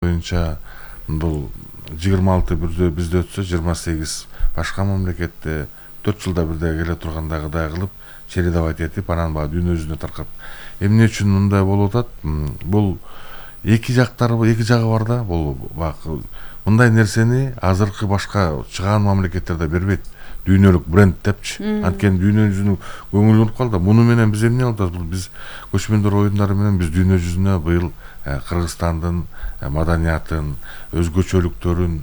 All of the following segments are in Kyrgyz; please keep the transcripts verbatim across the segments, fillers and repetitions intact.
боюнча бул жыйырма алты бирде бизде өтсө жыйырма сегиз башка мамлекетте төрт жылда бирде келе тургандагыдай кылып чередовать этип анан баягы дүйнө жүзүнө таркап. Эмне үчүн мындай болуп атат? Бул эки жактары, эки жагы бар да. Бул баягы мындай нерсени азыркы башка чыгаан мамлекеттерде бербейт. Дүйнөлүк бренд депчи. Анткени дүйнө жүзүнүн көңүлү уруп калды. Муну менен биз эмне кылабыз? Бул биз көчмөндөр оюндары менен биз дүйнө жүзүнө быйыл Кыргызстандын маданиятын, өзгөчөлүктөрүн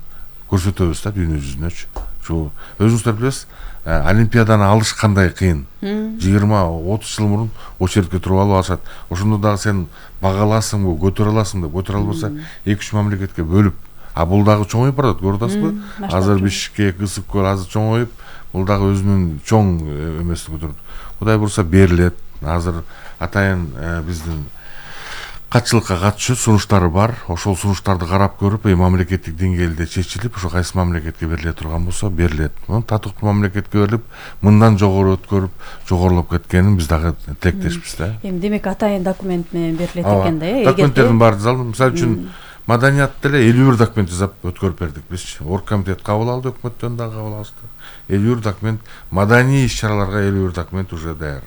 көрсөтөбүз да дүйнө жүзүнөчү. Şu өзүңүздөр билесиз, Олимпиаданы алыш кандай кыйын. жыйырма отуз жыл мурун очередке туруп алып алышат. Ошондо дагы сен багаласыңбы, көтөрө аласың деп, көтөрө албаса эки үч мамлекетке бөлүп, а бул дагы чоңоюп барат, көрүп атасызбы? Азыр Бишкек, Ысык-Көл азыр чоңоюп, бул дагы өзүнүн чоң эмесин көтөрүп. Кудай бурса берилет. Азыр атайын биздин катчылыкка катышуу сунуштары бар. Ошол сунуштарды карап көрүп, мамлекеттик деңгээлде чечилип, ошо кайсы мамлекетке бериле турган болсо берилет. Татыктуу мамлекетке берилип, мындан жогору өткөрүп, жогорулуп кеткенин биз дагы тилектешпиз да. Эми демек атайын документ менен берилет экен да, э? Документтердин баары жазылды. Мисалы үчүн маданият деле элүү бир документ жазып өткөрүп бердик бизчи. Оргкомитет кабыл алды, өкмөттөн дагы кабыл алышты. элүү бир документ, маданий иш-чараларга элүү бир документ уже даяр.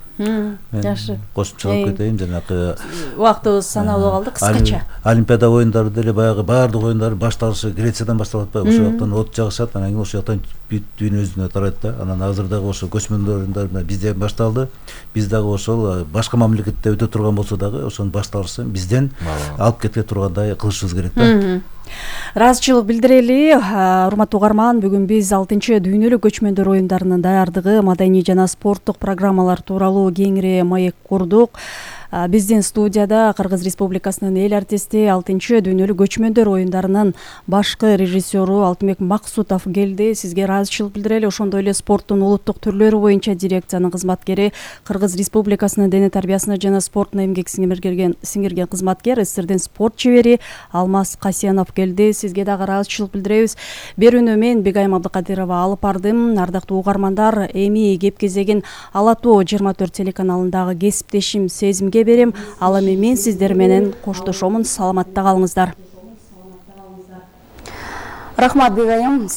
Жакшы. Кошумчалап кетейин, жанагы убактыбыз саналуу калды, кыскача. Олимпиада оюндары деле баягы баардык оюндар башталышы Грециядан башталып атпайбы? Ошол жактан от жагышат, анан кийин ошол жактан бүт дүйнө жүзүнө тарайт да. Анан азыр дагы ошо көчмөндөр оюндары менен бизде башталды. Биз дагы ошол башка мамлекетте өтө турган болсо дагы ошонун башталышын бизден алып кете тургандай кылышыбыз керек да. Ыраазычылык билдирели, урматтуу угарман, бүгүн биз алтынчы дүйнөлүк көчмөндөр оюндарынын даярдыгы, маданий жана спорттук программалар тууралуу кеңири маек курдук. Биздин студияда Кыргыз Республикасынын эл артисти, алтынчы дүйнөлүк көчмөндөр оюндарынын башкы режиссеру Алтынбек Максутов келди. Сизге ыраазычылык билдирели. Ошондой эле спорттун улуттук түрлөрү боюнча дирекциянын кызматкери, Кыргыз Республикасынын дене тарбиясына жана спортуна эмгек сиңирген сиңирген кызматкер, СССРдин спорт чебери Алмаз Касьянов келди. Сизге дагы ыраазычылык билдиребиз. Берүүнү мен Бегайым Абдыкадырова алып бардым. Ардактуу угармандар, эми кеп кезегин Ала тоо жыйырма төрт телеканалындагы кесиптешим Сезимге берем. Ал эми мен сиздер менен коштошомун. Саламатта калыңыздар. Рахмат, Бегайым.